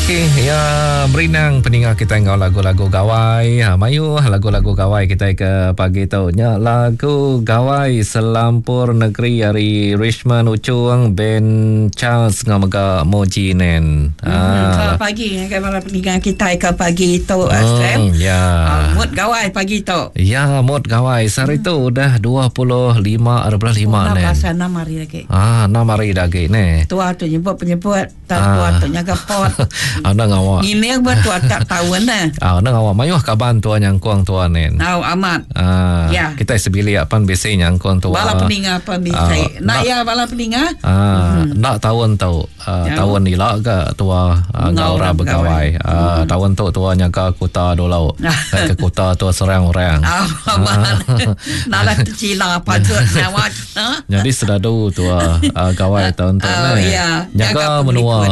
Okey, ya berinang peninga kita enggau lagu-lagu gawai. Ha, mayuh lagu-lagu gawai kita ke pagi tu. Nya lagu gawai selampur negeri ari Richmond Uchung Ben Charles enggau mega Moji Nen. Ha. Selamat pagi ngagai bala peninga kita ke pagi tu Sam. Ya. Uh, mood gawai pagi tu. Ya, mood gawai. Sehari tu udah 25 hari bulan 5 Nen. Pasal 6 hari lagi. Ah, 6 hari dah lagi ne. Tua tu nyebut penyebut tak ah. tua tu nyaga pot. Anda ngawak. Ngiling buat tua tak tahun ne. Ah, anda ngawak mayuh kaban tua nyangkung tua nen. Au amat. Ah, ya. Kita sebilik pan bisi nyangkung tua. Bala peninga pan bisi. Ah, nak ya bala peninga? Ah, hmm. nak tahun tu. Uh, ya. Tahun ila ke tua uh, enggau orang begawai. Uh, hmm. Tahun tu tua nyaga kuta dulu. Ke kuta tua serang orang. Ah, Nala tercila patut nyawa. Jadi sedadu tua uh, gawai tahun tu oh, ne. Ya. Jaga menua.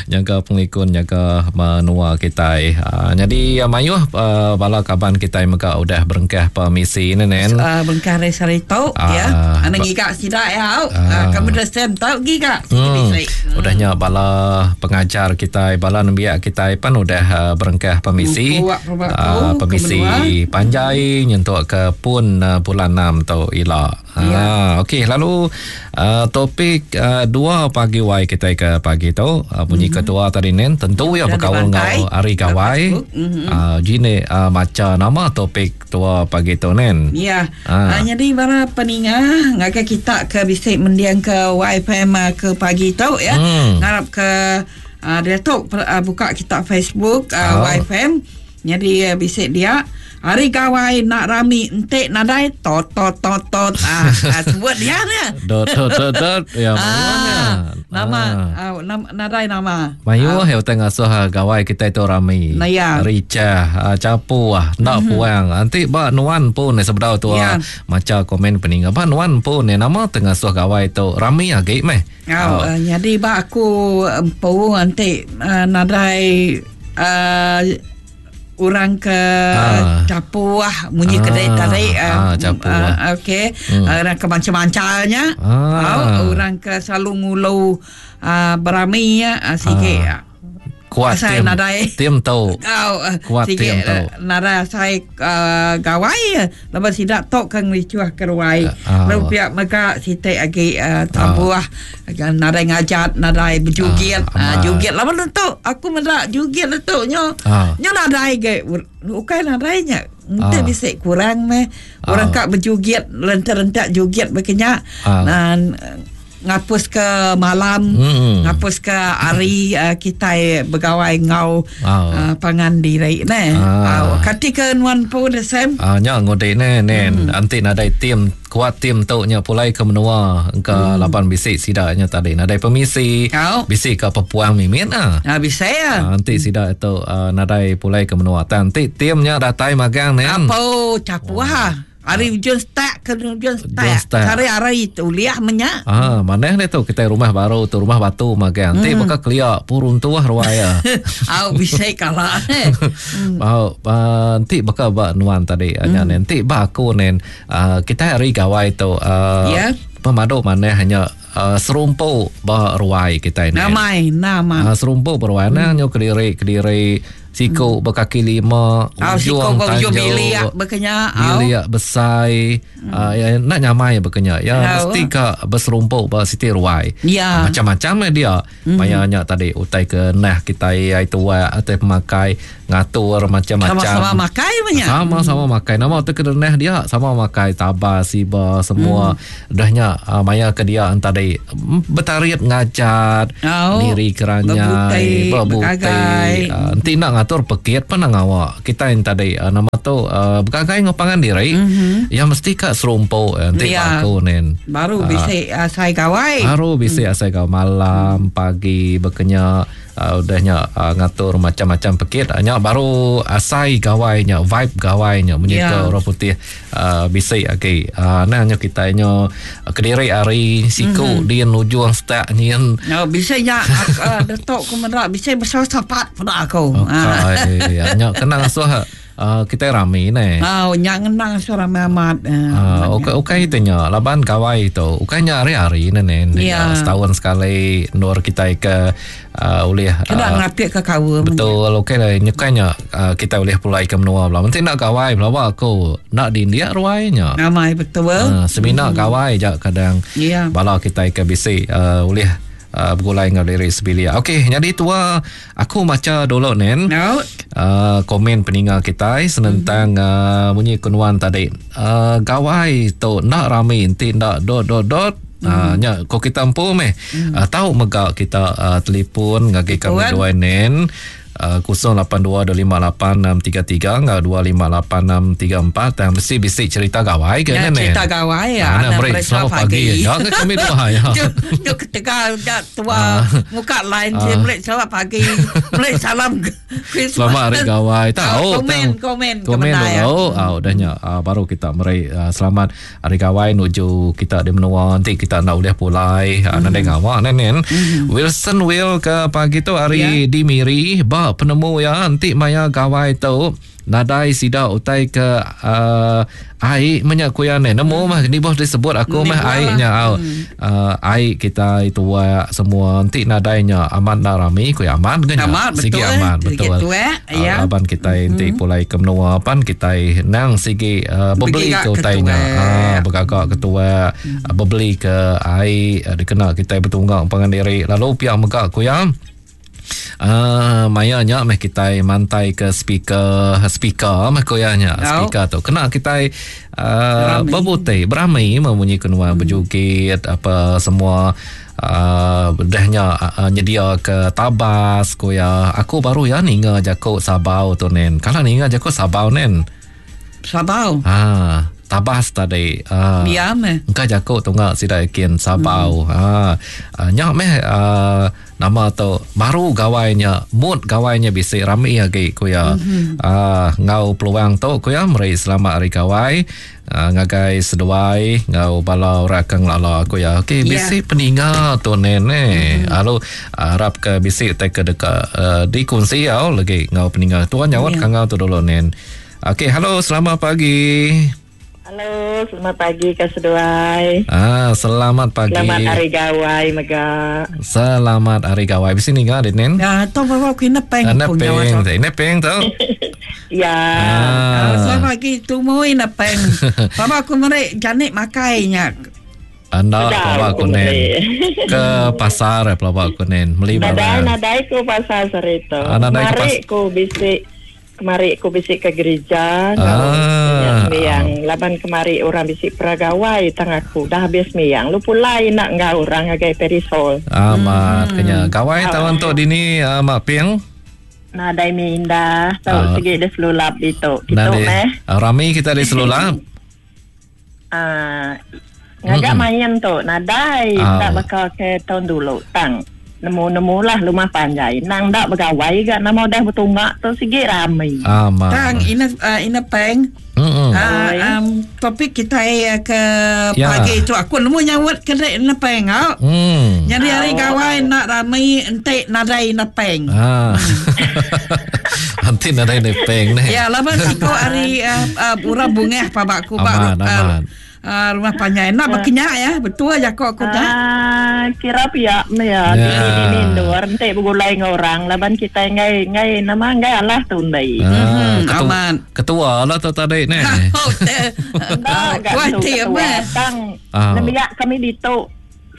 Jaga penglikun, jaga menua kita. Uh, jadi uh, mayuh uh, bala kaban kita mega udah berengkah permisi ni nen. Uh, berengkah hari sehari tu uh, ya. Ana ngiga sida ya. Uh, uh, kamu dah sem tau giga. Hmm. Udahnya bala pengajar kita, bala nembiak kita pan udah uh, berengkah permisi. Uh, permisi panjai nyentuk ke pun uh, bulan 6 tu ila. Ya. Ha, okey lalu uh, topik uh, dua pagi wai kita ke pagi tu uh, bunyi mm-hmm. ketua tadi nen tentu ya berkaul dengan hari gawai. Mm-hmm. Uh, jine uh, maca nama topik tua pagi tu nen. Ya. Ha. Uh, jadi para peninga ngagai kita ke bisik mendiang ke YFM ke pagi tu ya. Hmm. Ngarap ke uh, dia tu uh, buka kita Facebook uh, Oh. YFM. Jadi uh, bisik dia Hari gawai nak rami entik nadai tot tot tot tot ah, ah sebut dia ni. Dot dot dot dot ya Ah, nama Ah. ah. nama nadai nama. Mayuh ah. yang ngasuh ah, gawai kita itu rami. Nah, ya. Ricah, ah, capu ah, nak mm-hmm. puang. Nanti ba nuan pun eh, sebedau tu Ya. ah, maca komen peninga. Ba nuan pun eh, nama tengah suh gawai tu rami agi meh. Oh, uh, jadi ba aku empu nanti uh, nadai uh, orang ke Ah. capu ah bunyi Ah, kedai tadi ah, capu ah. okey orang ke macam-macamnya Ah. oh, orang ke selalu ngulu uh, berami ya uh, sikit Ah. Kuat Asal tim. nadai. Tim tu. Kau uh, Kuat sikit tim tu. uh, nara saya uh, gawai uh, lepas sidak tok kang ricuah keruai. Ah. Lalu pihak mega sitik agi uh, tabuah uh. nadai ngajat nadai berjugit. Ah, Ah, amat. jugit lama tu aku medak jugit tu nyo. Ah. Nyo nadai ge ukai nadainya. Ente Ah. bisik kurang meh. Orang Ah. kak berjugit rentak-rentak jugit berkenyak. Ah. Dan uh, ngapus ke malam, Hmm. ngapus ke hari uh, kita begawai ngau Ah. uh, pangan diri ne. Ah. Ah. Kati ke nuan pun Sam. Ah, nya ngode ne nen hmm. anti nadai tim kuat tim tu nya pulai ke menua ke hmm. laban bisik sidaknya tadi nadai permisi Kau. bisik ke pepuang mimin ah. Ah bisa ya. Ah, nanti sida itu uh, nadai pulai ke menua. Tan nanti timnya datai magang nen. Apa capu ha. Hari ujung start ke ujung Ujung start. start. Hari hari itu liah menyak. Ah, mana ni tu kita rumah baru tu rumah batu magang. Nanti hmm. bakal keliak purun tuah ruaya. Au bisa kalah. Hmm. Mau uh, nanti bakal ba nuan tadi hmm. nya nanti ba aku nen uh, kita hari gawai tu uh, Ya. pemadu mana hanya uh, serumpu ba ruai kita ni. Namai nama. Uh, serumpu beruai hmm. nyo kediri kediri siku hmm. berkaki lima Au siko ujung ba ujung tanjung bilik berkenyak. Au. Bilik besai hmm. uh, ya, nak nyamai berkenyak ya Au. mesti ka berserumpuk ba siti ruai Ya. Ah, macam-macam dia hmm. mayanya tadi utai ke nah kita ai tua atau pemakai ngatur macam-macam Sama-sama makai banyak. sama-sama makai nama tu ke nah dia sama makai taba siba semua hmm. dahnya uh, maya ke dia tadi bertarit ngajat Au. niri keranyai Berbutai, berbutai bergagai. uh, nanti nak ngatur pekit pun nak ngawak kita yang tadi uh, nama tu uh, bergagai ngopangan diri mm-hmm. yang mesti kat serumpuk eh, nanti Ya. aku nen Baru Ah. bisa uh, saya gawai. Baru bisa hmm. asal kau malam, pagi berkenya uh, udahnya uh, ngatur macam-macam pekit nya baru asai gawainya vibe gawainya munyi Ya. ke orang putih uh, bisik okey. Uh, nah nya kita nya uh, kediri hari siku mm-hmm. din ujung stak nyin No, bisa nya aku, uh, detok ku merak bisa besar sapat pada aku. Ah. Okay. Ya, nya kena ngasuh. uh, kita rami ne. Oh, nya ngenang suara amat. Uh, ukai ukai itu nya laban gawai itu ukai nya hari-hari ne ne. Ya. Setahun sekali nur kita ke uh, ulih kena uh, ngapik ke kawa. Betul, okey lah nyukai nya uh, kita ulih pulai ke menua bela. Mesti nak gawai bela aku nak di India ruai nya. Ramai betul. Uh, semina hmm. gawai je kadang ya. bala kita ke bisi uh, ulih uh, begulai enggau diri sebilik. Okey, jadi tua aku maca dulu nen. No. Uh, komen peninga kita senentang mm-hmm. uh, bunyi kenuan tadi. Uh, gawai tu nak rami enti ndak dot dot dot. Mm. Uh, nya ko kita empu meh. Mm. Uh, tau mega kita uh, telefon ngagi kami dua nen. Uh, 0822586633 enggau 258634 tang mesti bisi cerita gawai ke ya, nen cerita gawai ya. Ah, nak beri selamat pagi. Ya ke kami dua ya. Tu tu ketegal dak tua muka lain uh. beri selamat pagi. Beri salam Christmas. Selamat hari gawai. Tahu komen komen komen dulu. Ah udah nya uh, baru kita meri uh, selamat hari gawai nuju kita di menua nanti kita nak ulih pulai mm. nadai ngawa nen nen. Mm. Wilson Will ke pagi tu hari yeah. di Miri ba penemu ya nanti maya gawai tu nadai sida utai ke uh, ai menya kuya ne nemu mah ni boh disebut aku mah ai nya au hmm. uh, ai kita itu wa semua nanti nadai nya amat nak rami kuya amat ke nya amat, sigi betul, amat betul eh. eh. Uh, laban kita nanti hmm. pulai ke menua pan kita nang sigi uh, bebeli ke utai nya uh, bergagak ketua hmm. uh, bebeli ke ai uh, dikena kita bertunggak pangan diri lalu pihak mega kuya Uh, maya nya meh kita mantai ke speaker speaker meh koya nya No. speaker tu kena kita uh, berbuti berami memunyi kenua hmm. berjoget apa semua uh, dahnya uh, nyedia ke tabas koya aku baru ya ninga jako sabau tu nen kalau ninga jako sabau nen Sabau. ha tabas tadi uh, Diam eh. Engkau jako tunga sida yakin sabau. Hmm. Ha nyak meh uh, nama tu baru gawainya mood gawainya bisi rami lagi ku ya. Mm-hmm. Uh, ngau peluang tu ku ya meri selamat hari gawai uh, ngagai seduai ngau bala orang kang lala ku ya. Okey Ya. bisi peninga tu nene. Mm-hmm. Lalu harap ke bisi te ke deka uh, dikongsi au lagi ngau peninga. Tuan nyaut Ya. yeah. kangau tu dulu nen. Okey, halo selamat pagi. Halo, selamat pagi ke seduai. Ah, selamat pagi. Selamat hari gawai mega. Selamat hari gawai. Bisi ninga dit nen. Ya, tu bawa aku ina peng Anda pun nyawa peng, tu. ini peng tu. Ya. Ah, Ah, selamat pagi tumu ina peng. Bapa aku merek janik makainya. anda Sedap pelawak aku kunen. beli. Ke pasar eh, pelawak kunen beli Nadai barang. nadai ku pasar serito. Ah, nadai ke Kemari ku bisi kemari ku bisi ke gereja. Ah. Miang laban kemari orang bisi peragawai tang aku dah habis miang. Lu pulai nak ngau orang ngagai perisol. Amat kenya. Gawai tahun tu dini uh, mak ping. Nadai mi indah. Ah. Tau segi dia selulap itu. Gitu Nadi. meh. Ah, rami kita di selulap. Ah, ngagak main tu nadai Ah. tak bakal ke tahun dulu tang nemu-nemu lah rumah panjai nang dak begawai gak nama dah bertunggak tu sigi rami Amat. Tang ina uh, ina peng. Mm-mm. Ah, um, topik kita eh, ke Ya. pagi itu aku nemu nyawat ke dek ina peng au. Hmm. Jadi hari gawai nak ramai entik nadai ina peng. Ah. Nanti nadai ni peng ni. Ya, laban siko hari uh, uh, orang bungeh pabakku bak Aman, aman. uh, rumah panjai nak berkenyak ya, betul aja kok aku dah. Ah, kira pihak me ya, Ya. di di mindur ente begulai dengan orang laban kita ngai ngai nama ngai alah tundai. Ah, Hmm, ketua, aman. ketua lah tu tadi ni. Oh, te- Dah gak Kuat tu ti ketua apa? tang. Ah. Nemiak kami ditu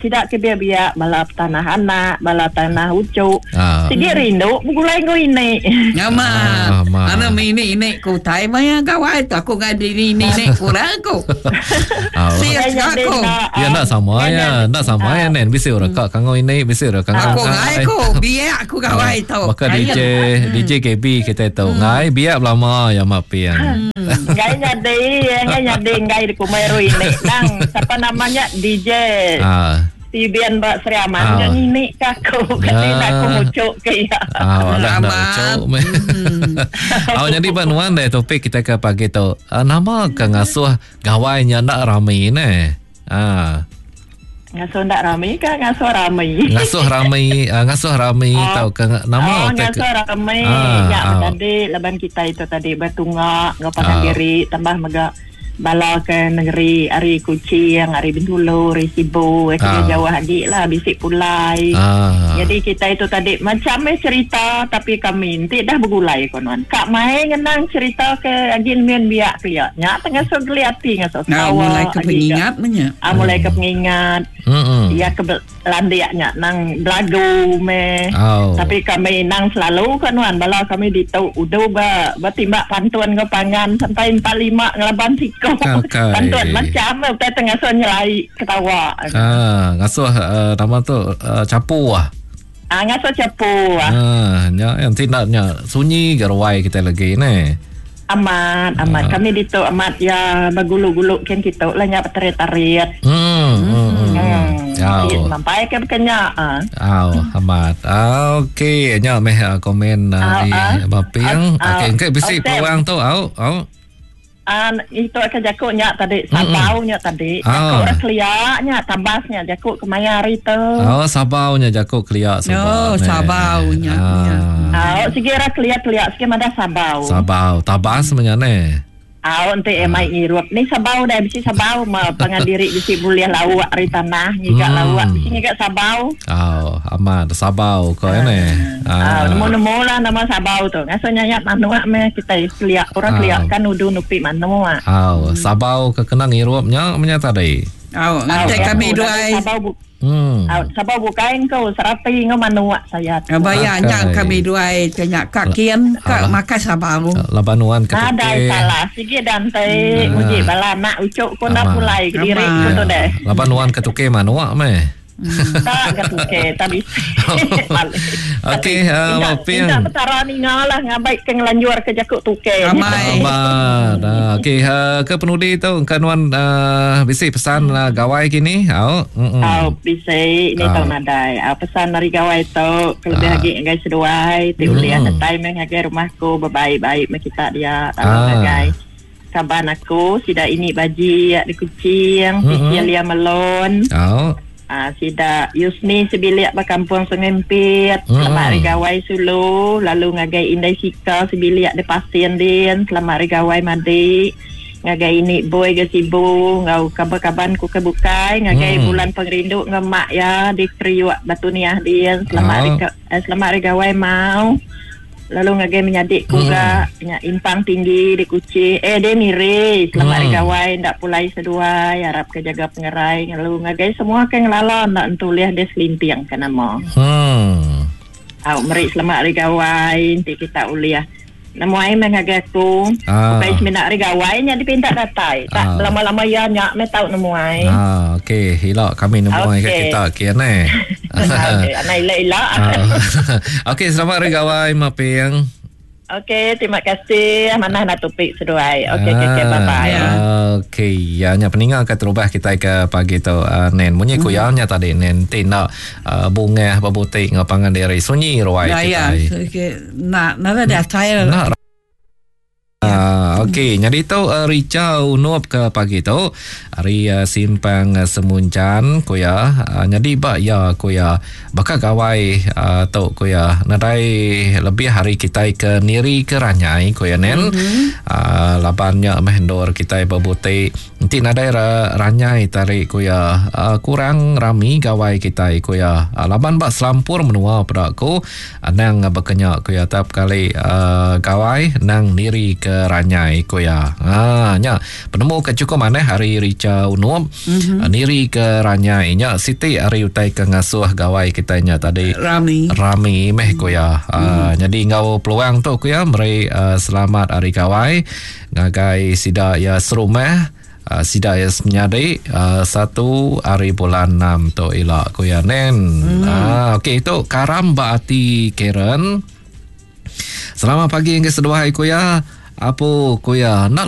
tidak ke biak bala tanah anak, bala tanah ucuk. Ah. Sigi rindu begulai dengan ini. Ngama. Ah, aman. Ana mini ini ku tai maya gawai tu aku ngai di ini ini kurang aku. Ah. Siap aku. Ya nak sama ya, nak sama ya nen. Bisi orang kak kangau ini, bisi orang kangau. Aku ngai aku biak aku gawai tu. Maka DJ DJ KB kita tahu ngai biak lama ya mak piang. Ngai nyadi, ngai nyadi ngai di kumeru ini. Nang, siapa namanya DJ Ah. Steven Mbak Sri Aman Ah. yang ini kaku kata Ah. nak aku mucuk ke ya. Ah, alah nak Amat. ucuk. Ah, jadi banuan deh topik kita ke pagi tu. Ah, nama ke ngasuh gawainya nak rami ne. Ah. Ngasuh enda rami ka ngasuh rami? Ngasuh rami, uh, ngasuh rami oh. tau ke nama oh, ngasuh rami. Ah, ya ah. tadi laban kita itu tadi betunga ngau pangan ah. diri tambah mega bala ke negeri ari Kuching, ari Bintulu, ari Sibu, eh, ah. jauh agi lah bisi pulai. Ah. Jadi kita itu tadi macam eh cerita tapi kami enti dah begulai konon. Kak mai ngenang cerita ke agi mian biak ke ya. Nya tengah so geli ati ngasuh ketawa. Mulai ke pengingat menya. Ah mulai ke pengingat. Iya ke landik nya nang belagu me. Oh. Tapi kami nang selalu kan nuan bala kami ditu udu ba betimbak pantun ke pangan sampai 45 ngelaban siko. Okay. Pantun macam utai tengah so nyelai ketawa. Ah ngasuh uh, nama tu uh, capu ah. Ah ngasuh capu ah. Ah nya yang tindak nya sunyi geruai kita lagi ne. Amat, amat. Ah. Kami ditu amat ya begulu-gulu kin kitu lah nya betarit-tarit. Hmm. Hmm. hmm. Oh. Sampai ke bekenya. Ah. Oh, amat. Ah, okey, nya meh ah, komen ah, di Baping. Okey, engke bisi peluang tu au, au. Ah, itu akan jaku nya tadi, sabau nya tadi. Jaku orang kelia nya, tabas nya jaku kemaya hari tu. Oh, sabau nya jaku kelia sabau. Oh, sabau nya. Ah, oh, sigi orang kelia-kelia sigi madah sabau. Sabau, tabas menya ne. Au enti eh mai ngirup ni sabau deh bisi sabau ma pangan diri bisi bulih lauk ari tanah ngiga hmm. lauk bisi ngiga sabau. Au amat sabau ko ah. ne. Ah. nemu-nemu lah nama sabau tu. Ngasuh nyayat manuk meh kitai kelia orang kelia kan nudu nupi manuk. Au sabau ke kena ngirup nya menya tadi. Au nganti kami duai. Sabau bu hmm. Au sabau bukai engkau serapi ngau manuk saya. Baya nya kami duai ke nya ka kin ka makai sabau. Laban nuan ke Nadai salah sigi dante hmm. muji bala anak ucuk ku enda pulai kediri ku tu deh. Laban nuan ke tukei manuk meh. Tak ke tukei tak bisi. Okey, uh, Ping. Minta petara ninga lah ngabai ke ngelanjur ke jaku tukei. Amai. Amat. Uh, Okey, uh, ke penudi tu engka nuan uh, bisi pesan uh, gawai kini. Au. Mm-mm. Au bisi ni tau nadai. Au pesan ari gawai tu kelebih uh. agi ngagai seduai ti ulih mm. datai meh ngagai rumah aku bebaik-baik meh kita dia lalu uh. ngagai kaban aku sida ini baji di Kuching, mm-hmm. Cecilia Melon. Oh. Sida Yusni sebilik ba kampung Sungai Empit. Mm-hmm. Selamat hari gawai sulu lalu ngagai Indai Sika sebilik di Pasin din. Selamat hari gawai madi. Ngagai ini boy ke Sibu ngau kaban-kaban ku ke bukai ngagai mm. bulan pengerindu ngau mak ya di Kriuk Batu Niah din. Selamat oh. hari eh, selamat hari gawai mau. Lalu ngagai menyadi ku hmm. ga nya impang tinggi di Kuching eh di Miri selamat hari hmm. gawai ndak pulai seduai harap ke jaga pengerai lalu ngagai semua ke ngelala ndak entulih dia selinting ke nama. Hmm. Au meri selamat hari gawai enti kita ulih nemuai meh ngagai aku. Ah. Bukai semina hari gawai nya dipinta datai. Tak ah. lama-lama iya nya meh tau nemuai. Ah, okey, ila kami nemuai okay. ke kita kian eh. Okey, anak ila-ila. Ah. Okey, selamat hari gawai Maping. Okey, terima kasih. Manah nak topik seduai. Okey, okey, okay, bye-bye. Ah, okey, ya nya peninga ke terubah kita ke pagi tu uh, Nen. Munyi ku ya nya tadi Nen ti nak uh, bungah bebutik ngau pangan diri sunyi ruai ya, kita. Ya, okey. Nak nak ada saya. Nak Ah, okey, jadi tu uh, Richa Unup ke pagi tu hari uh, simpang uh, Semunjan ku ya. Uh, jadi ba ya ku ya baka gawai uh, tu ku ya nadai lebih hari kitai ke niri ke ranyai ku ya nen. Mm-hmm. Uh, laban nya meh endur kitai bebuti Enti nadai ranyai tari ku iya, kurang rami gawai kitai ku iya. Laban ba selampur menua peda ku anang baka nya ku iya tap kali gawai nang niri ke ranyai ku iya. Ha nya penemu ke chukup manah ari Richa Unup niri ke ranyai nya siti ari utai ke ngasuh gawai kitai nya tadi rami rami meh ku iya. Nyadi enggau peluang tu ku iya meri selamat ari gawai. Ngagai sida iya serumah, sida iya semenyadi satu ari bulan enam tu ila, ku iya nen. Hmm. Okey itu karam ba ati Karen. Selamat pagi enggai seduai ku iya. Apu ku iya. Enda.